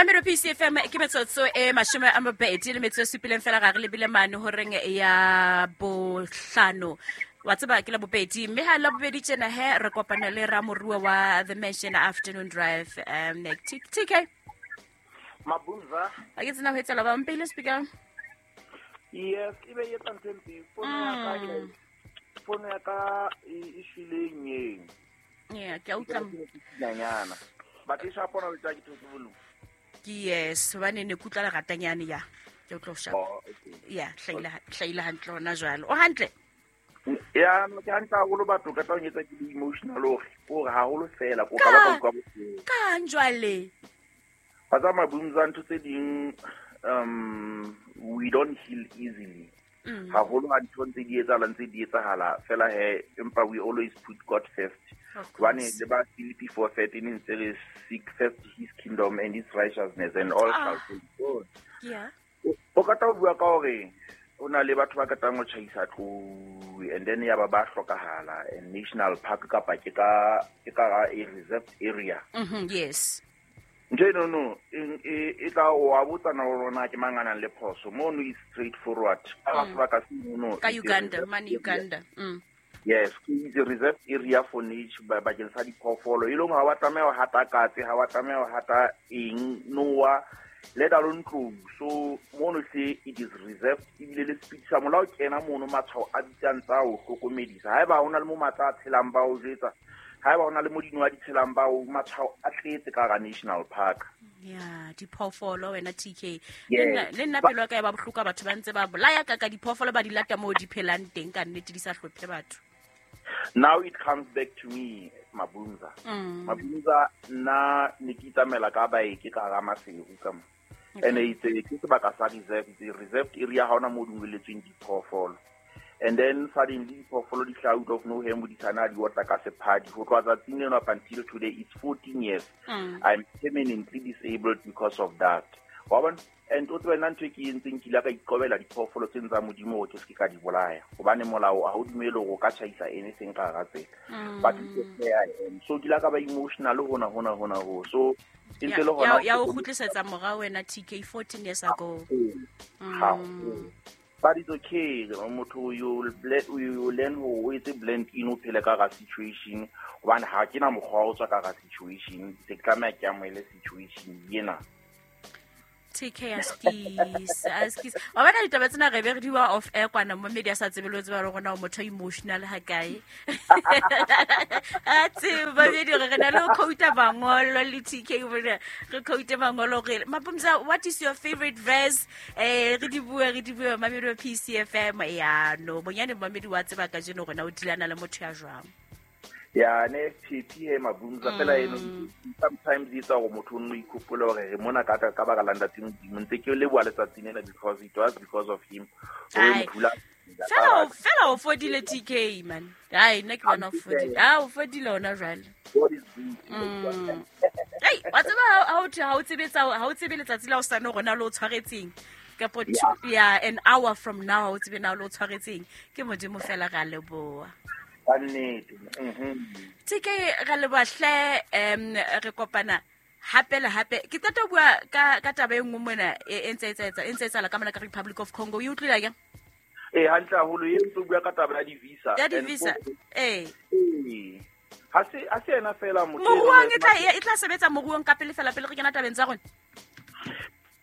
Mamelo PCFM ke metsotso e 27 fela ga re lebile mane horeng ya bohlano. Wa tseba ke la bobedi mme ha la bobedi tjena he re kopana le ramorua wa The Mansion Afternoon Drive TK. Mabunza. A ke tsena ho etsela ba mpele speaker. Yes, e be e etsa ntho e mpe. Fono ya ka fono ya ka e shwele nyeng. Yeah, ke a utlwa. Nyana. But e shapona le tsa ke thotse bolu. Ke yes, hobane ne ke utlwa leratanyane ya. Ke utlwa ho shapa. Oh, okay. Ya, hlaile hantle hona jwalo. O hantle? Ya, no ke hantle haholo batho ka tla o etsa ke le emotional hore hore haholo fela ko ka ba ka utlwa bohloko. Kang jwale? Ba tsa Mabunza ntho tse ding we don't heal easily. Haholo ha ntho ntse di etsahala ntse di etsahala fela he empa we always put God first. Hobane le ba Philippi 4:13 ntse re seek first his kingdom and his righteousness and all shall be good. Yeah. O ka tla o bua ka hore o na le batho ba katang ho tjhaisa tlou and then ya ba ba hlokahala and national park kapa ke ka a reserved area. Yes. Ntho eno no e tla o a botsa na rona ke mang a nang le phoso mono is straight forward. Ka sebaka se mono ka Uganda, mane Uganda. Yes, it's a reserved area for nature bakeng sa diphoofolo. E leng ha wa tlameha ho hata katse, ha wa tlameha ho hata eng, noa, let alone tlou. So mono hle it is reserved ebile le speed sa molao kena mono matshwao a bitsang tsa ho hlokomedisa. Haeba hona le mo matla a tshelang ba o jwetsa, haeba hona le mo dinoha di tshelang ba o matshwao a tletse ka hara national park. Ya, diphoofolo wena TK. Le nna pelo ya ka e ba bohloko batho ba ntse ba bolaya ka diphoofolo ba di lata moo di phelang teng ka nnete di sa hlophe batho. Now it comes back to me, Mabunza. Mabunza nna ne ke itsamela ka bike ka hara Maseru ka mo. And it's ke sebaka sa reserve, it's a reserved area ha hona moo dumelletsweng diphoofolo. And then suddenly diphoofolo di hlaha out of nowhere modisana di otla ka sephadi. Ho tloha tsatsing leno up until today it's 14 years. I'm permanently disabled because of that. Wa bona? And o tsebe nna ntho e ke entseng ke ile ka iqobela diphoofolo tse tsa Modimo hore ke se ke ka di bolaya. Hobane molao ha o dumele hore o ka tjhaisa anything ka hara tsela. But it's fair I am. So ke ile ka ba emotional hona hona hona ho. So e ntse le hona ya o kgutlisetsa morao wena TK 14 years ago. But it's okay. Motho you learn ho etse blend in o phele ka hara situation. Hobane ha ke na mokgwa wa ho tswa ka hara situation. Se ke tlameha ke amohele situation ena. TK askis askis. Wa bona ditaba tsena re be re di wa off air kwana mo media sa tsebe le tseba le rona o motho emotional ha kae. A tseba be di re na le quote mangolo le TK bona re quote mangolo re Mabunza, what is your favorite verse? Re di bua Mamelo PCFM ya no bonyane mamedi wa tseba ka jeno rona o dilana le motho ya jwang. Ya ne PP he Mabunza fela eno sometimes it's a motho no ikhopola hore re mona ka ka baka la ntate Modimo ntse ke leboha letsatsing lena because it was because of him. Fela o fodile TK man. Ai nna ke bona o fodile. Ah o fodile ona jwale. Hey, wa tseba ha o tsebetsa ha o tsebe letsatsi la o sane rona le o tshwaretseng. Kapo ya an hour from now o tsebe na le o tshwaretseng. Ke Modimo fela ra leboha. TK ra leboha re kopana hape le hape. Ke qeta ho bua ka taba e nngwe mona e ntse etsahala ka mona ka Republic of Congo. O e utlwile akere? Eh hantle haholo e ntse bua ka taba ya di-visa. Ya di-visa. Eh. Ha se ena fela motho. Moruong e tla sebetsa moruong ka pele fela pele re kena tabeng tsa rona.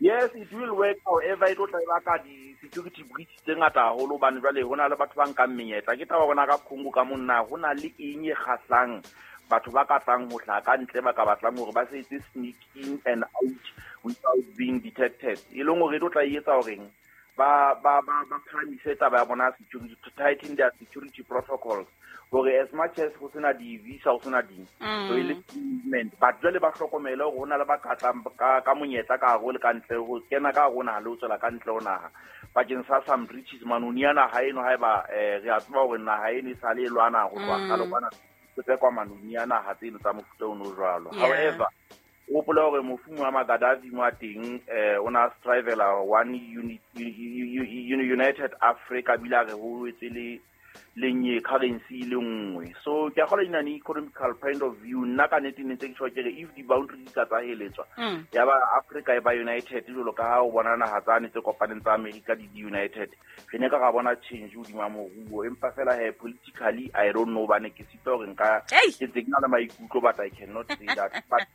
Yes, it will work. However, it will baka di-security breach tse ngata haholo hobane jwale ho na le batho ba nkang menyetla. Ke taba bona ka Congo ka monna ho na le eng e kgahlang batho ba ka tlang ho hlaha ka ntle ba ka batlang hore ba se etse sneak in and out without being detected. E leng hore e tlo tla etsa horeng ba phahamise taba ya bona security, to tighten their security protocols. Hore as much as ho sena di-visa ho sena ding, so e le movement, but jwale ba hlokomele hore ho na le ba ka tlang ka monyetla ka hare ho le ka ntle ho kena ka hare ho naha le ho tswela ka ntle ho naha bakeng sa some riches manoni a naha eno haeba re a tseba hore naha eno e sale e lwana ho tloha kgale kwana ho tsekwa manoni a naha tseno tsa mofuta ono jwalo. However, o hopola hore mofu Muammar Gaddafi mo a teng o na strivela one unit United Africa bile a re ho etse le le currency le nngwe. So ke a kgolwa in an economical point of view, nna ka nnete ne ntse ke tjho ke re if di-boundary di ka tsa heletswa, ya ba Africa e ba united jwalo ka ha o bona naha tsane tse kopaneng tsa America di united, re ne ka ra bona change hodima moruo. Empa fela he politically I don't know, bane ke sitwa hore nka ke ntse ke na le maikutlo, but I cannot say that. But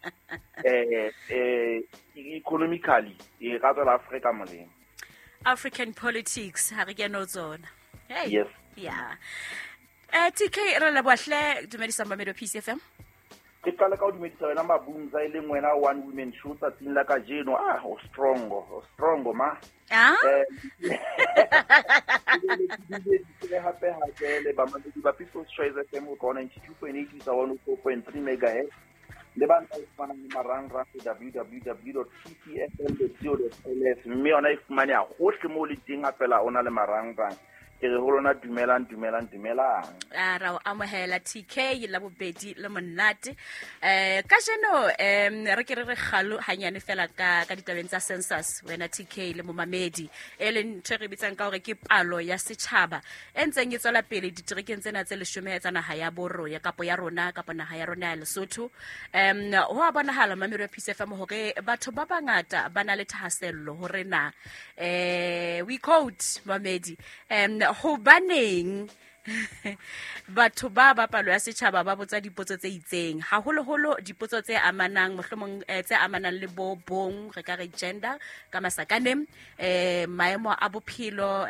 economically e ka tswela Africa molemo. African politics ha re kene ho tsona. Hey. Yes. Yeah. TK, re leboha hle, dumedisa mamedi wa Peace FM. Ke qale ka ho dumedisa wena Mabunza, e leng wena One Women Show tsatsing la kajeno. O strong, o strong ma. Hape hape le bamamedi ba People's Choice FM ho tloha 92.8 isa 104.3 megahertz. Le ba ntse fumanang le marangrang www.pcfm.co.ls, mme yona e fumaneha hohle moo le teng ha fela o na le marangrang. Ke re ho lona dumelang, dumelang, dumelang. A ra o amohela TK la bobedi le monate. Kajeno re ke re re kgalo hanyane fela ka ditabeng tsa census, wena TK le momamedi, e leng ntho e re bitsang ka hore ke palo ya setjhaba e ntseng e tswela pele diterekeng tsena tse 10 tsa naha ya borro ya kapo ya rona kapa naha ya rona ya Lesotho. Ho a bonahala mamedi wa Peace FM hore batho ba bangata ba na le thahasello hore na we quote mamedi hobaneng batho ba ba palo ya setjhaba ba botsa dipotso tse itseng, haholoholo dipotso tse amanang mohlomong tse amanang le bo bong, re ka re gender ka masakaneng, maemo a bophelo,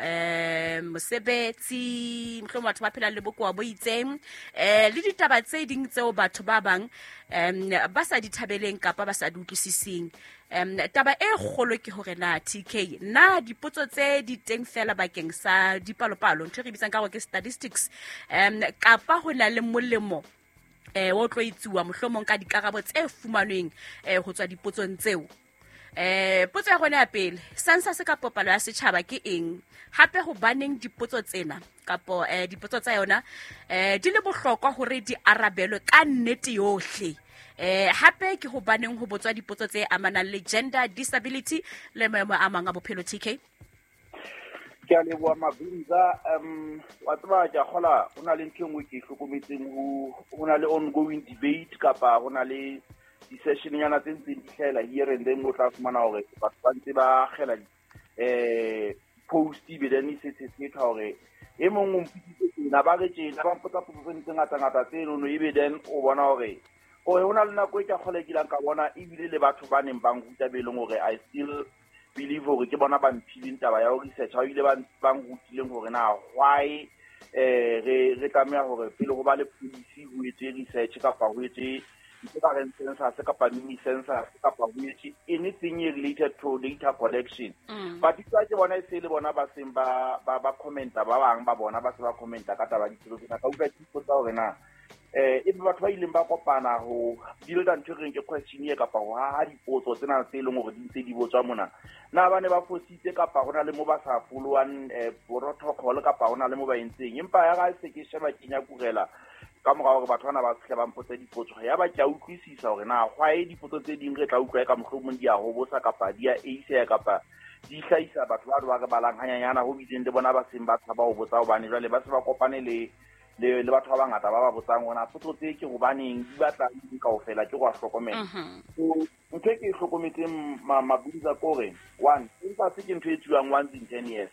mosebetsi, mohlomong batho ba phelang le bokowa bo itseng, le ditaba tse ding tseo batho ba bang ba sa di thabeleng kapa ba sa di utlwisiseng. Taba e kgolo ke hore na TK, na dipotso tse di teng fela bakeng sa dipalopalo, ntho e re bitsang ka hore ke statistics, kapa ho na le molemo o tlo etsuwa mohlomong ka dikarabo tse fumanweng ho tswa dipotsong tseo. Potso ya rona ya pele, census kapa palo ya setjhaba ke eng? Hape hobaneng dipotso tsena kapo dipotso tsa yona di le bohlokwa hore di arabelwe ka nnete yohle? Hape ke hobaneng ho botswa dipotso tse amanang le gender, disability le maemo a mang a bophelo, TK? Ke a leboha Mabunza. Wa tseba ke a kgola ho na le ntho e nngwe ke e hlokometseng, ho na le ongoing debate kapa ho na le di-session-nyana tse ntseng di hlahela here and then, o tla fumana hore batho ba ntse ba akgela post, ebe then e se sethwa hore e mong o mpotsitse tjena, ba re tjena, ba mpotsa potso tse ngata-ngata tsenono, ebe then o bona hore ho na le nako e ke a kgola e kileng ka bona ebile le batho ba neng ba nruta be leng hore I still believe hore ke bona ba mphileng taba ya ho research, ha ebile ba nrutileng hore na why re tlameha hore pele ho ba le policy ho etswe research kapa ho etswe ntho ka reng census kapa mini census kapa ho etswe anything related to data collection. But ke bona e se le bona ba seng ba commenta, ba bang ba bona ba se ba commenta ka taba ya dipotso tsena. Ka utlwa ke ipotsa hore na ebe batho ba ileng ba kopana ho builda ntho e reng ke questionnaire kapa ho haha dipotso tsena tse leng hore di ntse di botswa mona, na ba ne ba fositse kapa ho na le mo ba sa followang protocol kapa ho na le mo ba entseng. Empa ya ga se ke sheba ke nyakurela ka mora hore batho bana ba fihle ba mpotse dipotso, ya ba ke a utlwisisa hore na why dipotso tse ding re tla utlwa e ka mohlomong di a hobosa kapa di a eiseha kapa di hlahisa batho ba ba re balang hanyanyana ho bileng le bona ba seng ba tshaba ho botsa, hobane jwale ba se ba kopane le batho ba bangata ba ba botsang hore na potso tse ke hobaneng di batla eng kaofela, ke go a hlokomela. So ntho e ke e hlokometseng Mabunza ke hore one, census ke ntho e etsuwang once in 10 years,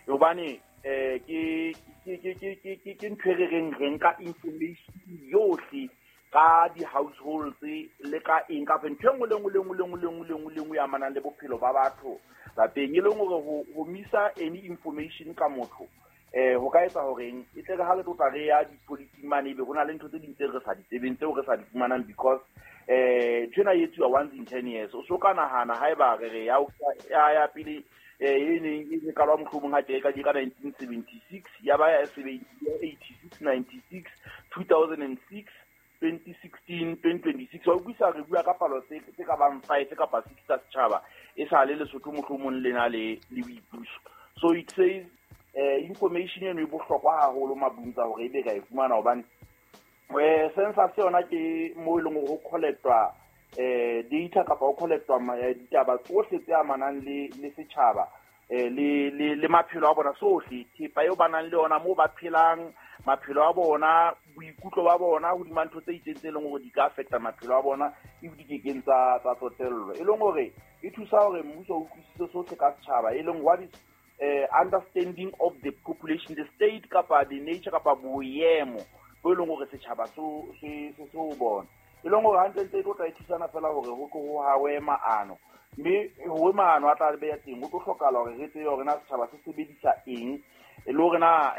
hobane ke ntho e re reng re nka information yohle ka di-households le ka eng kapa ntho e nngwe le nngwe le nngwe le nngwe le nngwe le nngwe le nngwe e amanang le bophelo ba batho lapeng, e leng hore ho misa any information ka motho ho ka etsa hore eng e tle re ha re tlo tla re ya di-policy mane, ebe ho na le ntho tse ding tse re sa di tsebeng tseo re sa di fumanang, because ntho ena e etsuwa once in 10 years. O so ka nahana haeba re re ya pele e neng e qalwa mohlomong ha tje ka 1976, ya ba ya 86, 96, 2006, 2016, 2026. Wa utlwisa re bua ka palo tse ka bang 5 kapa 6 tsa setjhaba e sa le Lesotho mohlomong le na le boipuso. So it says information eno e bohlokwa haholo Mabunza hore ebe ra e fumana, hobane census yona ke mo e leng hore ho collectwa data kapa ho collectwa ditaba tsohle tse amanang le setjhaba, le maphelo a bona sohle, thepa eo ba nang le yona, moo ba phelang, maphelo a bona, boikutlo ba bona hodima ntho tse itseng tse leng hore di ka affecta maphelo a bona if di kekeng tsa tsotellwa. E leng hore e thusa hore mmuso o utlwisise sohle ka setjhaba, e leng what is understanding of the population, the state kapa the nature kapa boemo bo e leng hore setjhaba se o bona. E leng hore hantlentle e tlo tla e thusana fela hore ho tlo ho hawe maano, mme hore maano a tla beya teng ho tlo hlokahala hore re tsebe hore na setjhaba se sebedisa eng, e le hore na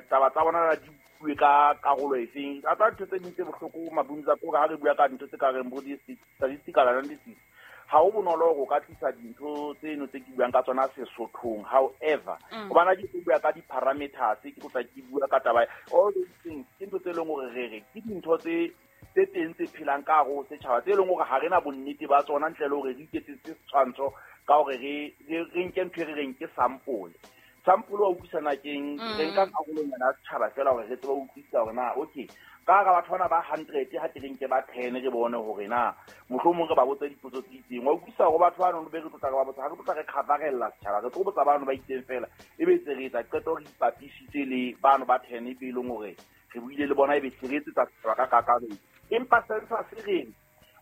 taba tsa bona di bue ka karolo efeng. A tsa ntho tse ding tse bohloko Mabunza ke hore ha re bua ka ntho tse ka reng bo di-statistical analysis, ha ho bonolo hore o ka tlisa dintho tseno tse ke buang ka tsona Sesothong. However, hobane ha ke bua ka di-parameters, ke tlo tla ke bua ka taba all those things, ke ntho tse leng hore re re ke dintho tse teng tse phelang ka hare ho setjhaba, tse leng hore ha re na bonnete ba tsona ntle le hore re iketsetse setshwantsho ka hore re nke ntho e re reng ke sample. Sample wa utlwisana keng, re nka karolonyana ya setjhaba fela hore re tsebe ho utlwisisa hore na okay, ka hara batho bana ba 100 ha ke re nke ba 10 re bone hore na mohlomong re ba botse dipotso tse itseng. Wa utlwisisa hore batho bano be re tlotla re ba botsa, ha re tlotla re coverella setjhaba, re tlo botsa bano ba itseng fela, ebe tse re etsa qeto re ipapisitse le bano ba 10 e be leng hore re buile le bona, ebe se re etsetsa setjhaba ka kakaretso. Empa census re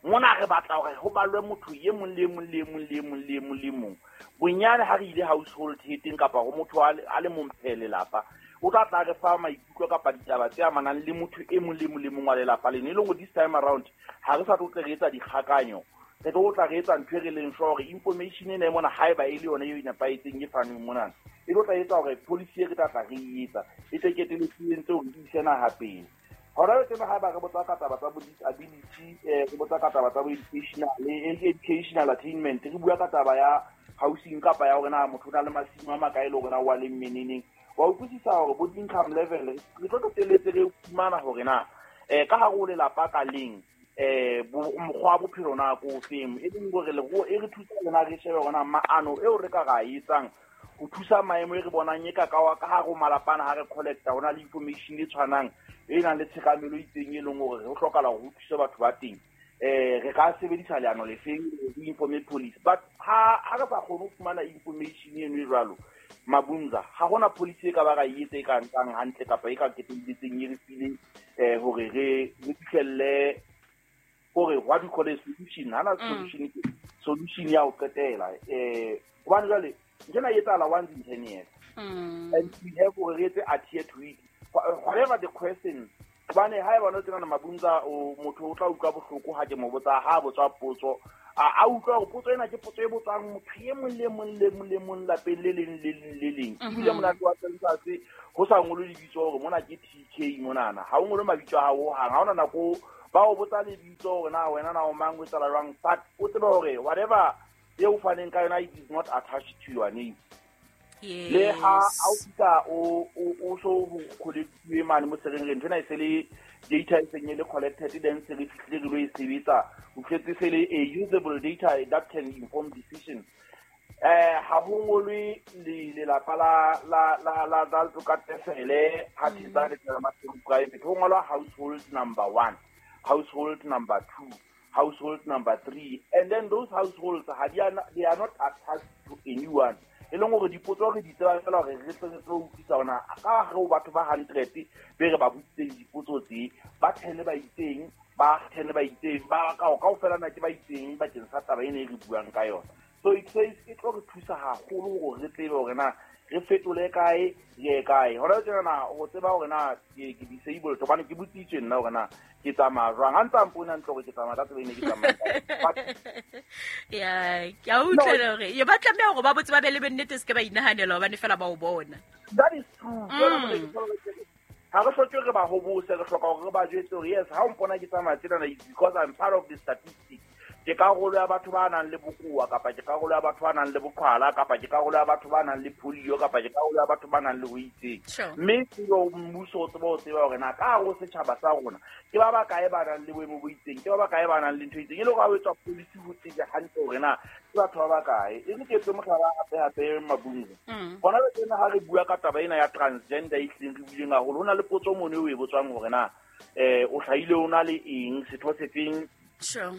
mona re batla hore ho balwe motho e mong le mong le mong le mong le mong le mong. Bonyane ha re ile household heading kapa ho motho a le mong phele lelapa, o tla tla re fa maikutlo kapa ditaba tse amanang le motho e mong le mong le mong wa lelapa leno. E leng hore this time around ha re sa tlo tle re etsa dikgakanyo, re tlo tla re etsa ntho e re leng sure hore information ena e mona haeba e le yona eo e nepahetseng e fanweng monana, e tlo tla etsa hore policy e re tla tla re etsa e tle keteletse e ntse hore e ise naha pele. Hona le tsena haeba re botsa ka taba tsa bo disability, re botsa ka taba tsa bo educational attainment, re bua ka taba ya housing kapa ya hore na motho o na le masimo a makae le hore na wa le mmeneneng. Wa utlwisisa hore bo income level re tlo qetelletse re fumana hore na ka hare ho lelapa ka leng mokgwa wa bophelo na ko ofeng, e leng hore e re thusa rona re shebe hore na maano eo re ka ra etsang ho thusa maemo e re bonang e ka ka hare ho malapa ana ha re collecta ho na le information e tshwanang e nang le tshekamelo e itseng e leng hore ho hlokahala hore ho thuse batho ba teng. Re ka sebedisa leano lefeng re informe police, but ha re sa kgone ho fumana information eno e jwalo Mabunza, ha hona policy e ka ba ra e etsa e ka nkang hantle kapa e ka ketelletseng e re fileng hore re fihlelle hore what we call a solution. Hana solution ke solution ya ho qetela. Hobane jwale ntho ena e etsahala once in 10 years. And we have hore re etse adhere to it. Whatever the question, hobane ha eba no tsena Mabunza o motho o tla utlwa bohloko ha ke mo botsa, ha botswa potso, a utlwa hore potso ena ke potso e botswang motho e mong le mong le mong le mong lapeng le leng le leng le leng. Ebile monate wa census ho sa ngolwe lebitso hore mona ke TK monana, ha o ngolwe mabitso a hao hohang, ha hona nako ba o botsa lebitso hore na wena na o mang, o etsahala jwang, but o tsebe hore whatever eo faneng ka yona it is not attached to your name. Le ha o fihla o so ho collectuwe mane mo sereng, ntho ena e se le data e seng e le collected, then se re fihlile re lo e sebetsa, o tletse se le a usable data that can inform decisions. Ha ho ngolwe lelapa la Tlokatefele ha thetsa le tsela Maseru private, ho ngolwa household number 1, household number 2, household number 3, and then those households they are not attached to anyone. E leng hore dipotso re di tseba fela hore re tle re tlo utlwisa hore na ka hare ho batho ba 100 be re ba botsitseng dipotso tse, ba 10 ba itseng, ba 10 ba itseng, ba kaofela na ke ba itseng bakeng sa taba ena e re buang ka yona. So it says e tlo re thusa haholo hore re tsebe hore na re fetole kae, re ye kae. Hona tjena na ho tseba hore na ke disabled, hobane ke botsitswe nna hore na ke tsamaya jwang. Ha ntse a mpona ntle hore ke tsamaya ka tsela ene ke tsamaya. Ya, ke a utlwa hore ye ba tlameha hore ba botse ba be le bonnete, se ke ba inahanela hobane fela ba o bona. That is true. Ha re hloke re ba hobose, re hloka hore re ba jwetse hore yes, ha o mpona ke tsamaya tsenana is because I'm part of the statistics. Ke karolo ya batho ba nang le bokowa, kapa ke karolo ya batho ba nang le boqhwala, kapa ke karolo ya batho ba nang le polio, kapa ke karolo ya batho ba nang le ho itseng. Mme tsebo mmuso o tseba ho tseba hore na ka hare ho setjhaba sa rona ke ba bakae ba nang le boemo bo itseng, ke ba bakae ba nang le ntho e itseng, e le hore ha o etswa policy ho tsebe hantle hore na ke batho ba bakae. E re ke etse mohlala hape Mabunza. Hona le tsena ha re bua ka taba ena ya transgender e hlileng re buileng haholo, ho na le potso mono eo e botswang hore na o hlahile o na le eng, setho sefeng,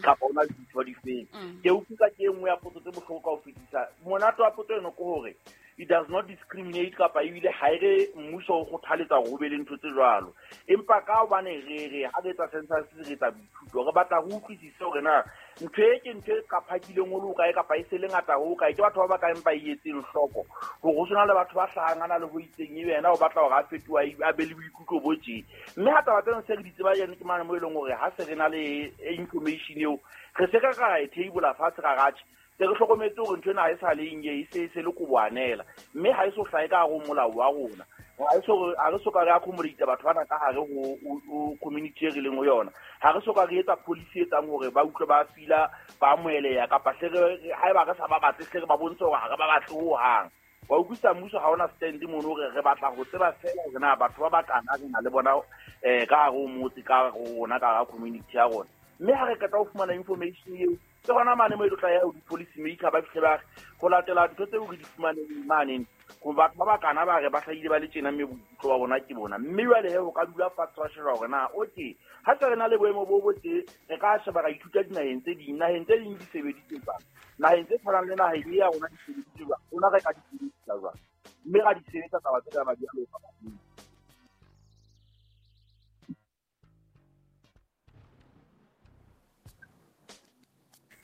kapa o na le ditho difeng. Ke utlwisa ke e nngwe ya potso tse bohloko ka ho fetisisa. utlwisisa. Monate wa potso eno ke hore it does not discriminate kapa ebile ha e re mmuso o kgothaletsa hore ho be le ntho tse jwalo. Empa ka hobane re re ha re etsa census re etsa boithuto, re batla ho utlwisisa hore na ntho e ke ntho e qaphakileng ho le hokae kapa e se le ngata ho kae, ke batho ba bakae ba e etseng hloko hore ho sena le batho ba hlahang a na le ho itseng ebe yena o batla hore a fetoha a be le boikutlo bo tje. Mme ha taba tseno se re di tseba jane ke mane mo e leng hore ha se re na le information eo re se ka ra e table fatshe ra ratjhe se re hlokometse hore ntho ena ha e sa le eng e se le koboanela, mme ha e so hlahe ka hare ho molao wa rona. Ha re soka re accommodate batho bana ka hare ho community e re leng ho yona. Ha re soka re etsa policy e etsang hore ba utlwe ba fila ba amoheleha kapa hle re haeba re sa ba batle hle re ba bontshe hore ha re ba batle hohang. Wa utlwisisa mmuso ha ona stand mono hore re batla ho tseba feela hore na batho ba bakana re na le bona ka hare ho motse ka hare ho rona ka hara community ya rona. Mme ha re qeta ho fumana information eo ke hona mane mo e tlo tla ya ho di-policy maker ba fihle ba re ho latela ntho tseo re di fumaneng mane ho batho ba bakana ba re ba hlahile ba le tjena mme boikutlo ba bona ke bona. Mme jwale he ho ka dula fatshe wa sheba hore na okay ha se re na le boemo bo bo tje re ka sheba ra ithuta dinaheng tse ding, naheng tse ding di sebeditse jwang, naheng tse tshwanang le naheng e ya rona di sebeditse jwang, rona re ka di sebedisa jwang, mme ra di sebetsa taba tse ka ba di aloka.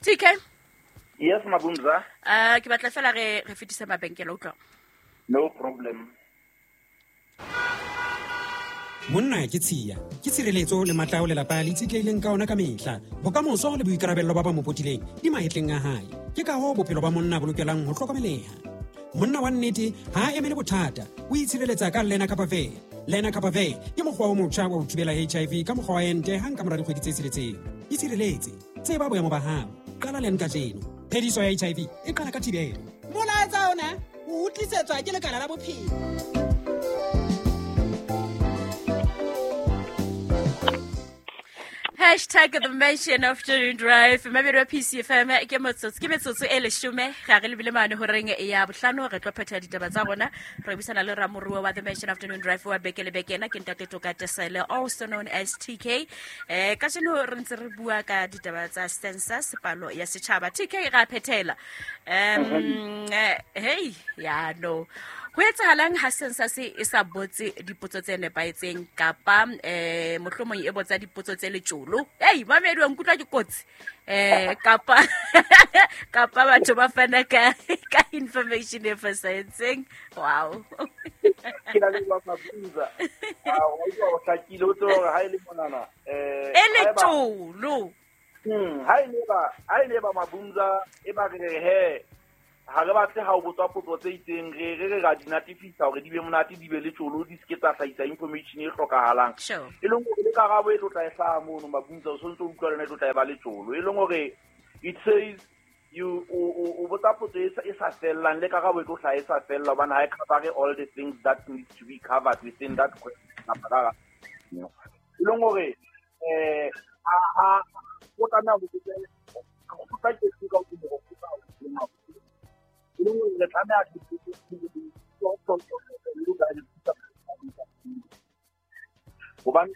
TK? Yes, Mabunza. Ke batla fela re fetise mabenkele utlwa. No problem. Monna ke tshiya, ke tshireletso le matla ao lelapa le itshetlehileng ka ona ka mehla. Bokamoso le boikarabello ba ba mo potileng di mahetleng a hae. Ke ka hoo bophelo ba monna bo lokelang ho hlokomeleha. Monna wa nnete ha a emele bothata, o itshireletsa ka Lenacapavir. Lenacapavir ke mokgwa o motjha wa ho thibela HIV ka mokgwa wa ente hang ka mora dikgwedi tse tsheletseng. Itshireletse, tseba boemo ba hao. Qala len kajeno. Phediso ya HIV e qala ka thibelo. Molaetsa ona o utlisetswa ke Lekala la Bophelo. Hashtag the Mansion Afternoon Drive. Mamedi wa PCFM ke metsotso e leshome ga re lebile mane horeng ya bohlano re tlo phetha ditaba tsa rona. Re buisana le ramoruo wa the Mansion Afternoon Drive wa beke le beke ena ke Ntate Toka Tesele, also known as TK. Kajeno re ntse re bua ka ditaba tsa census, palo ya setjhaba. TK ra phethela. Hey, ya no. Ho etsahalang ha census e sa botse dipotso tse nepahetseng kapa mohlomong e botsa dipotso tse letjolo? Hey, mamedi wa nkutlwa ke kotsi. Kapa kapa batho ba fana ka information e fosahetseng. Wow. Ke na le wa Mabunza. O utlwa o hlakile o tsebe hore ha e le monana e letjolo. Ha e le ba Mabunza e ba re he ha re batle ha o botswa potso tse itseng re re ra di natifisa hore di be monate di be le tjolo di se ke tsa hlahisa information e hlokahalang. E leng hore le karabo e tlo tla e hlaha mono Mabunza o sontse o utlwa lona e tlo tla e ba le tjolo. E leng hore it says you o botsa potso e sa fellang le karabo e tlo hlaha e sa fella hobane ha e cover all the things that need to be covered within that question. E leng hore a o tlameha ho botsa ke ka o le tlameha hobane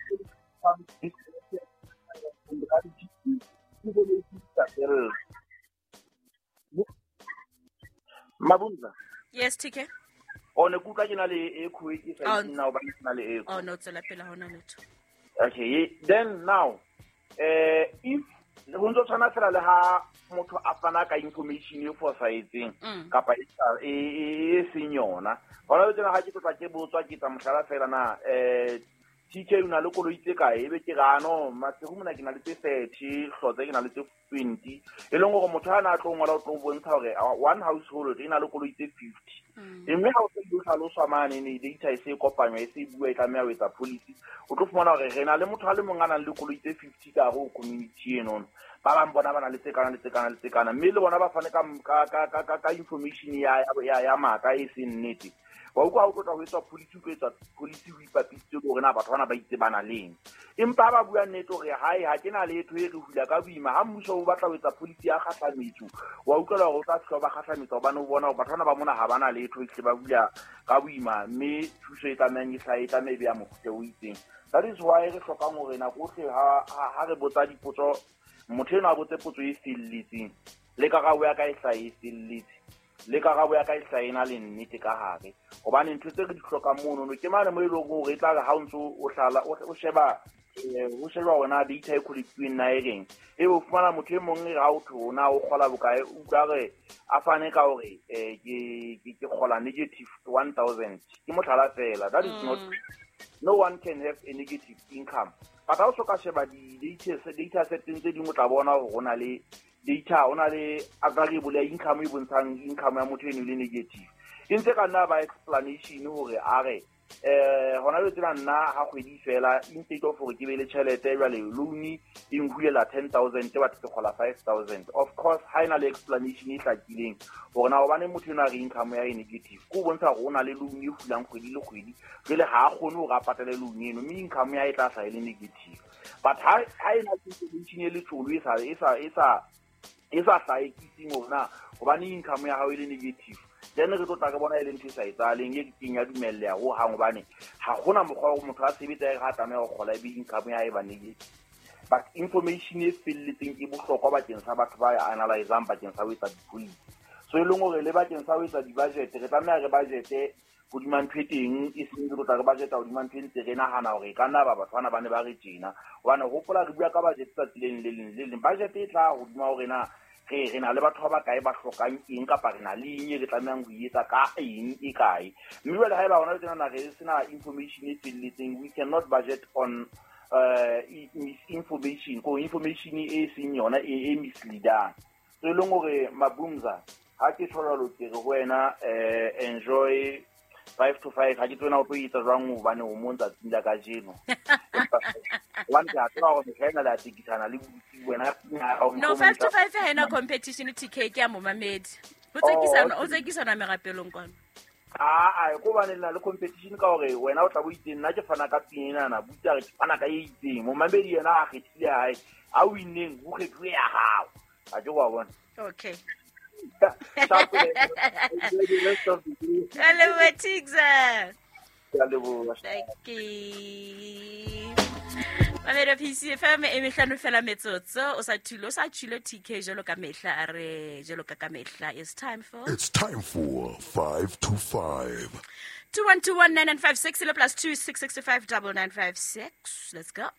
Mabunza. Yes, TK. O ne kutlwa ke na le echo e ke sa nna hobane ke na le echo. Oh no, tswela pele ha hona letho. Okay, then now if ho ntso tshwana fela le ha motho a fana ka information e fosahetseng kapa e seng yona. Hona jwale ha ke tlotla ke botswa ke tsa mohlala fela na TK o na le koloi tse kae ebe ke ra no Maseru mona ke na le tse 30 Hlotse ke na le tse 20 e leng hore motho ha na tlo ngola o tlo bontsha hore one household e na le koloi tse 50 mme ha o se o hlaloswa mane ne data e se kopanywa e se bua e tlameha ho etsa policy o tlo fumana hore re na le motho a le mong a nang le koloi tse 50 ka hare ho community eno ba bang bona ba na le tse kana le tse kana le tse kana mme le bona ba fane ka information ya maka e seng nnete. Wa utlwa ha o tlotla ho etswa policy ho etswa policy ho ipapisitse hore na batho bana ba itse ba na leng empa ba bua nnete hore hae ha ke na letho e re hula ka boima ha mmuso o batla ho etsa policy ya kgahlametso wa utlwela hore o tla fihla ba kgahlametsa hobane o bona hore batho bana ba mona ha ba na letho ehlile ba hula ka boima mme thuso e tlamehang e hlahe e tlameha e be ya mofuta o itseng. That is why re hlokang hore nako ohle ha re botsa dipotso motho enwa a botse potso e felletseng le karabo ya ka e hlahe e felletse. Le karabo ya ka e hlahe e na le nnete ka hare. Hobane ntho tse re di hlokang monono ke mane mo e leng hore e tla re ha o ntso o hlala o sheba ho sheba hore na data e collect-uweng na e reng. Ebe o fumana motho e mong e re ha o thwe na o kgola bokae, o utlwa re a fane ka hore ke kgola negative 1000. Ke mohlala fela. That is not, no one can have a negative income. But ha o so ka sheba di-data data seteng tse ding o tla bona hore ho na le data, ho na le variable ya income e bontshang income ya motho eno e le negative. E ntse ka nna ba explanation hore a re hona jwale tsena nna ha kgwedi fela instead of hore ke be le tjhelete jwale loan e nhulela 10,000 but ke kgola 5,000. Of course ha ena le explanation e hlakileng hore na hobane motho eno a re income ya e negative, ke ho bontsha hore o na le loan e hulang kgwedi le kgwedi, jwale ha a kgone hore a patale loan eno, mme income ya hae e tla hlaha e le negative. But ha ena le information e letsholo e sa hlahekiseng hore na hobane income ya hao e le negative, then re tlo tla re bona e le ntho e sa etsahaleng, e keng ya dumelleha hohang, hobane ha hona mokgwa wa hore motho a sebetsa e re ha tlameha ho kgola ebe income ya hae e ba negative. But information e felletseng e bohlokwa bakeng sa batho ba analyzang bakeng sa ho etsa di-policy. So e leng hore le bakeng sa ho etsa di-budget, re tlameha re budgete hodima ntho e teng, e seng re tlo tla re budgeta hodima ntho e ntse re nahana hore e ka nna ba batho bana ba ne ba re tjena. Hobane hopola re bua ka budget tsatsi le leng le leng le leng. Budget e tla hodima hore na re na le batho ba bakae ba hlokang eng, kapa re na le eng e re tlamehang ho e etsa ka eng e kae. Mme jwale haeba hona le tjena re sena information e felletseng, we cannot budget on misinformation, ko information e seng yona e misleadang. So e leng hore Mabumza, ha ke tjho jwalo ke re ho wena enjoy 5 to 5. Ha ke tsebe na o tlo etsa jwang hobane o mong tsatsing la kajeno. Hobane ke a tseba hore mehla ena le a tekisana le botsi wena. No, 5 to 5 ha ena competition TK ke ya momamedi. Ho tsekisana, o tsekisana merapelong kwano. Ah, ko bane na le competition ka hore wena o tla bo itseng, nna ke fana ka pina ena, butsi a re ke fana ka e itseng. Momamedi yena a kgethile hae, a winneng ho kgethuwe ya hao. Ha ke wa bona. Okay. Hello, Tigza. Thank you. Mamedi PCFM e mehlano fela metsotso o sa thule o sa tshilo TK jalo ka mehla a re jalo ka mehla. It's time for 5 to 5. 21219956 le +266599956. Let's go.